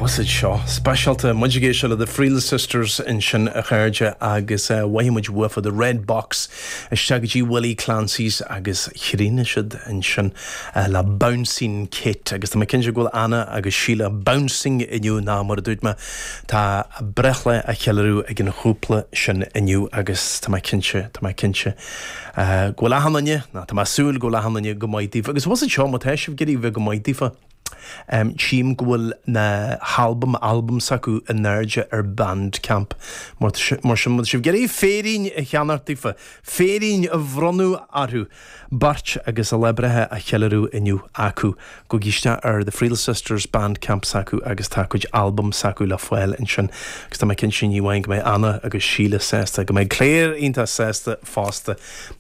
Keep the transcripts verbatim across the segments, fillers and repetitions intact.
Bhfuil seo speisialta muid ag éisteacht le The Friel Sisters ansin a chairde agus uh, mhaith muid uafa the Red Box isteach go dtí Willie Clancy's agus chríochnaigh siad ansin uh, le Bouncing Kate agus tá mé cinnte go bhfuil Anna agus Síle bouncing inniu ná mar a dúirt mé tá breithlá á cheiliúradh ag an chúpla sin inniu agus tá mé cinnte tá mé cinnte uh, go bhfuil achan duine ná tá mé ag súil go bhfuil achan duine go maith daofa agus was seo má tá sibh ag iarraidh bheith go maith daofa. Um, Tchím go bhfuil na halbam albam s'acu in airde ar Bandcamp mar mar sin má sibh ag iarraidh féirín a cheannach daofa, féirín a bhronnadh orthu beirt agus a lá breithe á cheiliúradh inniu acu gabhaigí isteach ar the Friel Sisters Bandcamp s'acu agus tá cuid albam s'acu le fáil ansin agus tá mé cinnte ní amháin go mbeidh Anna agus Síle sásta go mbeidh Claire iontach sásta fosta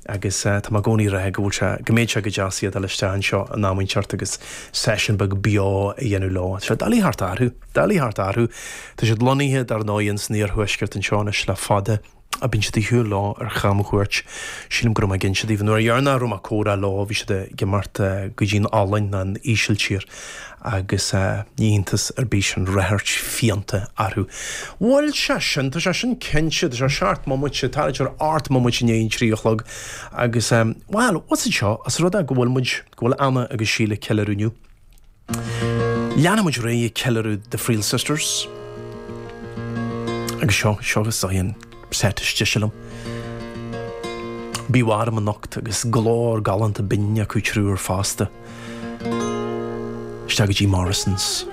agus uh, tá mé i gcónaí ag rá go bhfuil sé go mbeidh sé go deas iad isteach anseo an am inteacht agus session beag beo a dhéanamh leo. Sé doiligh thart orthu, doiligh thart orthu, Tá siad lonnaithe dar ndóigh san iarthuaisceart anseo anois le fada a bíonn siad ag siúl leo ar chamchuairt sílim go raibh mé ag inse daoibh nuair a raibh mé ag comhrá leo bhí siad ag imeacht go dtí an Ollainn an Ísiltír agus ní hiontas ar bith an ráchairt fiánta orthu. Bhfuil sé sin tá sé sin cinnte tá sé seacht mbomaite tá ar ocht mbomaite i ndiaidh an trí a chlog agus well what's it seo as rud é go bhfuil muid go bhfuil Anna agus Síle ag ceiliúradh inniu. Leanfaidh muid ar aghaidh ag ceiliúradh the Friel Sisters. Agus seo seo is an set is deise liom. Bí warm anocht agus glór galánta binn acu triúr fosta. Isteach go dtí Morrison's.